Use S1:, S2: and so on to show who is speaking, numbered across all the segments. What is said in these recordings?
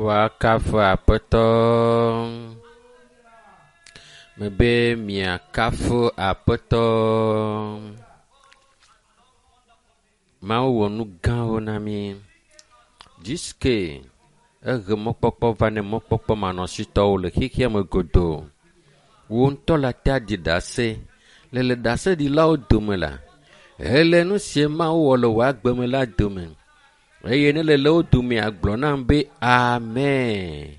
S1: Woakafu Aƒetɔ. Mebe miakafu Aƒetɔ. Mawu wɔ nu gãwo na mí. Jiske ehe mɔkpɔkpɔ va ne mɔkpɔkpɔ manɔsitɔwo le xexea me godoo. Wò ŋutɔ le ate aɖi ɖase le le ɖaseɖilawo dome la, hele nu si Mawu wɔ le wò agbe me la dome. Eye ne le le wo domea, gblɔ nam be amen.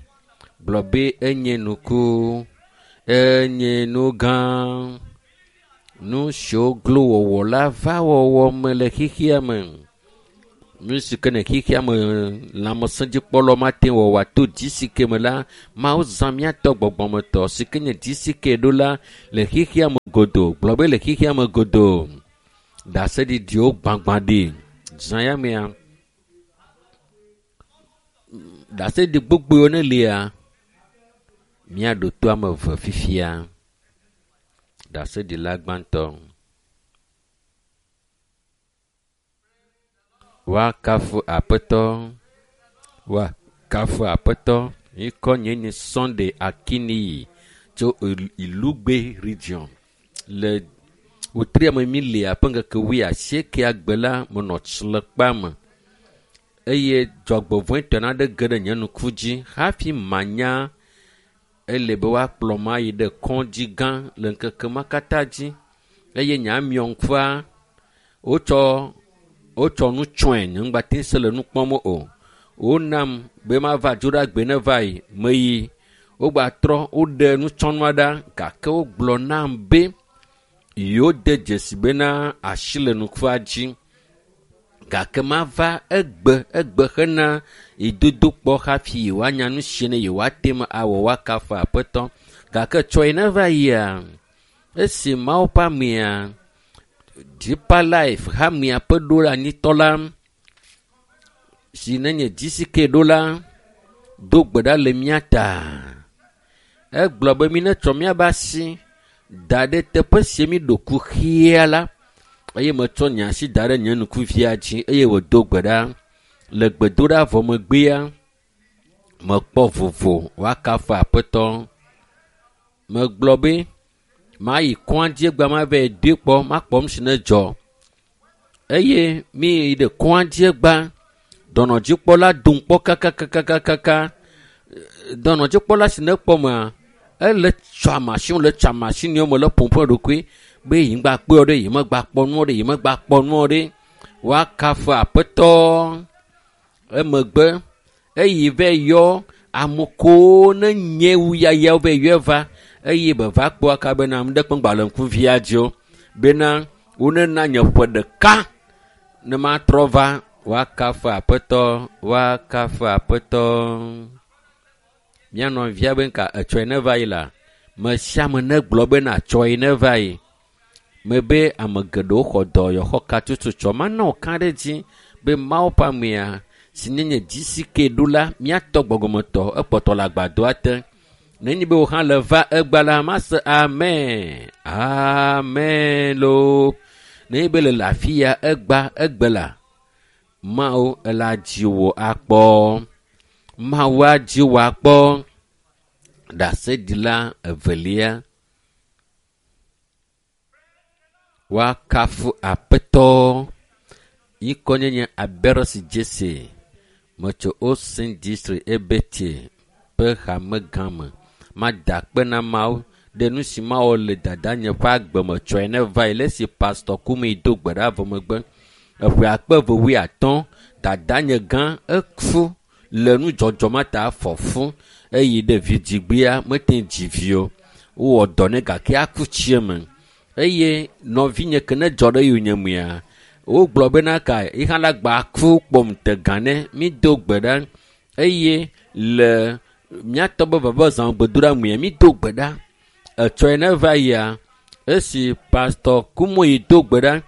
S1: Gblɔ be enye nuku, enye nu gã. Nu siwo glo wɔwɔ la va wɔwɔ me le xexea me. Nu si ke ne xexea me lãmesẽdzikpɔlawo mate ŋu wɔwɔ to dzisi ke me la, Mawu zã míatɔ gbɔgbɔmetɔ si ke nye dzisi ke ɖo la le xexea me godoo. Gblɔ be le xexea me godoo. Ɖaseɖiɖiwo gbagbã ɖi. Zã ya mea, ɖaseɖiɖi gbogbowo ne lia, míaɖo to ame eve fifia. Ɖaseɖila gbãtɔ. Woakafu Aƒetɔ. Woakafu Aƒetɔ. Ŋkɔ nye nye Sunday Akiniyi tso Ilugbe region. Le wòtri ame mi lia ƒe ŋkeke wuiasiekea gbe la, menɔ tsilekpa me eye dzɔgbevɔ̃etɔ aɖe ge ɖe nye ŋku dzi hafi manya ele be woakplɔ ma yi ɖe kɔdzi gã le ŋkeke ma katã dzi eye nye amiɔ ŋkua wotsɔ wotsɔ nu tsɔe nye ŋgbate se le nu kpɔm o. Wonam be mava dzoɖagbe ne va yi meyi wogbatrɔ woɖe nutsɔnua ɖa gake wogblɔ nam be yewo de dzesi bena asi le nukua dzi gake mava egbe egbe hena yidodokpɔ hafi yewoanya nu si ne yewoate ŋu awɔ woakafu Aƒetɔ. Gake tsɔe ne va yia, esi Mawu ƒe amea Deeper Life hamea ƒe ɖoanyitɔ la si nenye GCK ɖo la do gbe ɖa le mía ta. Egblɔ be mi netsɔ míaƒe asi da ɖe teƒe si mi ɖo kuxia la eye metsɔ nye asi da ɖe nye ŋkuvia dzi eye wòdo gbe ɖa. Le gbedoɖa vɔ megbea, mekpɔ vovo woakafu Aƒetɔ. Megblɔ be mayi kɔadzi egbea mava yi doe kpɔ makpɔ nu si ne dzɔ. Eye mi yi ɖe kɔadzi egbea, dɔnɔdzikpɔla dom kpɔ kakakakakaka. Dɔnɔdzikpɔla si ne kpɔ mea, ele tsɔ mashini le tsɔ mashini me le ƒom ƒe ɖokui be yi ŋgba kpɔe ɖe, yi megba kpɔ nuɔ ɖe, yi megba kpɔ nuɔ ɖe. Woakafu Aƒetɔ. Emegbe eyi va yɔ ame kewo ne nye wu yayawo va yɔe va eye beva kpɔ aka bena ame ɖe kpe ŋgba le ŋkuvia dzi o bena wonena nye ƒe ɖeka ne matrɔ va woakafu Aƒetɔ, woakafu Aƒetɔ. Mía nɔvia be ŋka etsɔe ne va yi la, me sia ame negblɔ bena tsɔe ne va yi. Mebe ame geɖewo xɔ dɔyɔxɔ katutu tsɔ mana wòka ɖe edzi be Mawu ƒe amea si nye nye GCK ɖo la, míatɔ gbɔgbɔmetɔ ekpɔtɔ le agbadɔa te. Nenye be wò hã le va egba la, mase amen, amen loo. Nenye be le le afi ya egba egbe la, Mawu ela dzi wò akpɔ. Mawu adzi wò akpɔ. Ɖaseɖila evelia. Woakafu Aƒetɔ. Ŋkɔ nye nye Aberosi Jesse. Metso Osin District Ebete ƒe hame gã me. Mada akpe na Mawu ɖe nu si mawɔ le dadanye ƒe agbe me tsɔe ne va yi le esi Pastor Kumi do gbe ɖa vɔ megbe. Eƒe akpe eve wuiatɔ̃, dadanye gã eku le nudzɔdzɔ ma ta fɔ fu eye ɖe vidzigbea mete ŋu dzi vi o. Wowɔ dɔ nɛ gake aku tsi eme eye nɔvinye ke ne dzɔ ɖe yonyemea, wogblɔ bena ka yi hã la gba ku kpɔm te gã ne mído gbe ɖa eye le míatɔ be veve zã gbedoɖa mea mído gbe ɖa. Etsɔe ne va yia, esi Pastor Kumuyi do gbe ɖa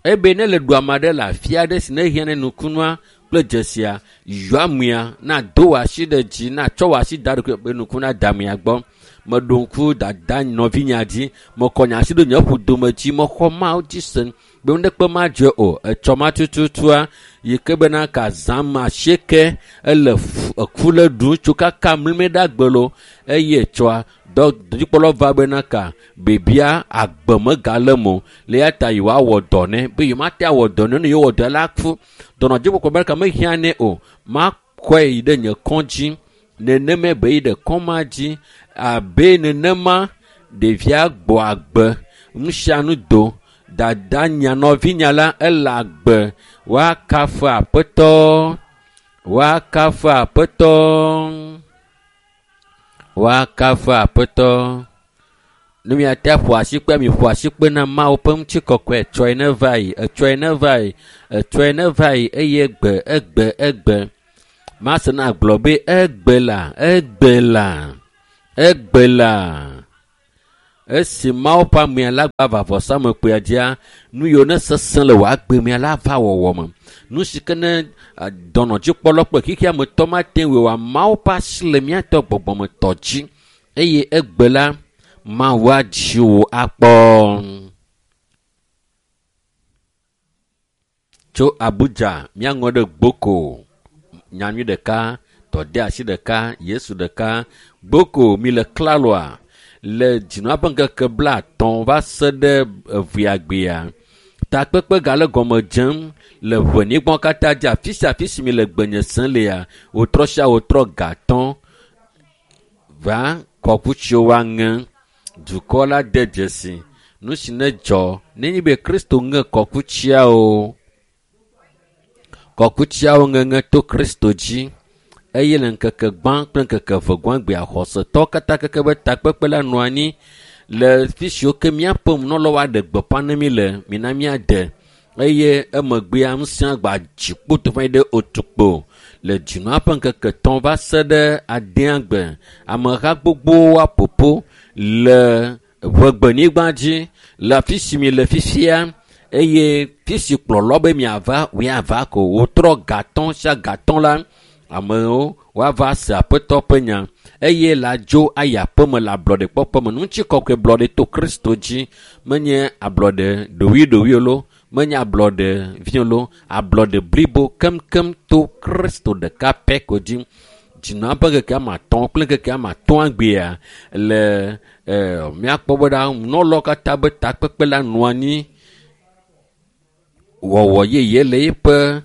S1: ebe ne le ɖu ame aɖe le afi aɖe si ne hiã ne nukunua kple dzesia, yɔ amea na do wò asi ɖe dzi natsɔ wò asi da ɖe be nuku nada amea gbɔ. Meɖo ŋku dada nɔvinyea dzi, mekɔ nye asi ɖo nye ƒodome dzi, mexɔ Mawu dzi se be nuɖekpe madzɔe o. Etsɔ ma tututua, yi ke bena ka zã ma asieke ele eku le ɖum tso kaka mlime ɖe agbelo eye tsɔa dɔdzikpɔlawo va bena ka bebia agbe megale mo le ya ta yewoawɔ dɔ nɛ be yewomate awɔ dɔ nɛ ne yewɔ dɔ la ku dɔnɔdzikpɔkpɔ be ka mehiã nɛ o makɔe yi ɖe nye kɔdzi nenema be yi ɖe kɔma dzi abe nenema ɖevia gbɔ agbe nu sia nu do dada nya nɔvinya la ele agbe woakafu aƒetɔ woakafu aƒetɔ woakafu aƒetɔ ne miate aƒo asikpe miƒo asikpe na mawu ƒe ŋutikɔkɔe etsɔe ne va yi etsɔe ne va yi etsɔe ne va yi eye egbe egbe egbe mase na gblɔ be egbe la egbe la egbe la esi mawu ƒe amea la gba va vɔsamekpea dzia nu yiwo ne sesẽ le wò agbemea la va wɔwɔ me nu si ke ne dɔnɔdzikpɔlawo kple xexea me tɔ mate ŋui oa mawu ƒe asi le míatɔ gbɔgbɔmetɔ dzi eye egbe la mawu adzi wò akpɔ. Tso Abuja míaŋɔ ɖe Gboko nyanyui ɖeka tɔdeasi ɖeka Yesu ɖeka Gboko mi le klaloa le dzinua ƒe ŋkeke 50 va se ɖe eveagbea takpekpe gale gɔme dzem le ʋenigbɔ katã dzi afi sia afi si mi le gbenye sem lea wotrɔ sia wotrɔ gatɔ va kɔkutsiwo woaŋe dukɔ la de dzesi nu si ne dzɔ nenye be Kristo ŋe kɔkutsiawo kɔkutsiawo ŋeŋe to Kristo dzi eye le ŋkeke gbã kple ŋkeke eve gbãgbea xɔsetɔwo katã keke be takpekpe la nɔ anyi le fi siwo ke míaƒe nunɔlawo aɖe gbeƒã ne mí le mina míade eye emegbea ŋusẽ gba dzi kpoto va yi ɖe otukpo le dzinua ƒe ŋkeke 3 va se ɖe adea gbe ameha gbogbowo aƒoƒo le ʋegbenyigba dzi le afi si mi le fifia eye fi si kplɔlɔ be miava woava ko wotrɔ gatɔ sia gatɔ la amewo woava se aƒetɔ ƒe nya eye la dzo ayi aƒeme le ablɔɖekpɔkpɔ me ŋutikɔkɔe blɔɖe to Kristo dzi menye ablɔɖe ɖowiɖowi lo menye ablɔɖe vi lo ablɔɖe blibo keŋkeŋ to Kristo ɖeka pɛ ko dzi dzinua ƒe ŋkeke ame 5 kple ŋkeke ame 5 agbea le míakpɔ be ɖa nunɔlawo katã be takpekpe la nɔ anyi wɔwɔ yeye le eƒe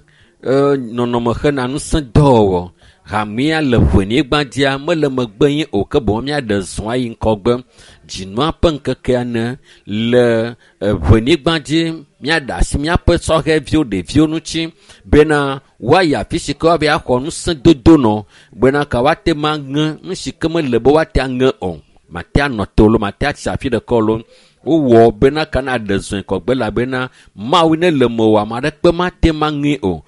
S1: nɔnɔme hena ŋusẽ dɔwɔwɔ hamea le ʋenyigba dzia mele megbe ye o ke boŋ míaɖe zɔ ayi ŋgɔgbe dzinua ƒe ŋkekea ne le ʋenyigba dzi míaɖe asi míaƒe sɔhɛviwo ɖeviwo ŋuti bena woayi afi si ke woava axɔ ŋusẽ dodo nɔ bena ka woate ma ŋe nu si ke mele be woate aŋe o mate anɔ te lo mate atsi afi ɖeka lo wowɔ bena ka na ɖe zɔe kɔgbe elabena mawu ne le mewò ame aɖeke mate ma ŋe o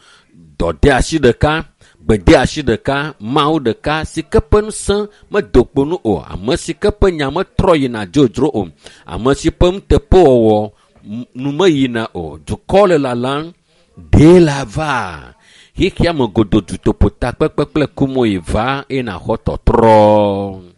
S1: dɔdeasi ɖeka gbedeasi ɖeka mawu ɖeka si ke ƒe ŋusẽ medo kpo nu o ame si ke ƒe nya metrɔ yina dzodzro o ame si ƒe nuteƒewɔwɔ nu meyina o dukɔ le lalam ɖee la va xexea me godo dutoƒo takpekpe kple kumoyi va eye nàxɔ tɔtrɔ.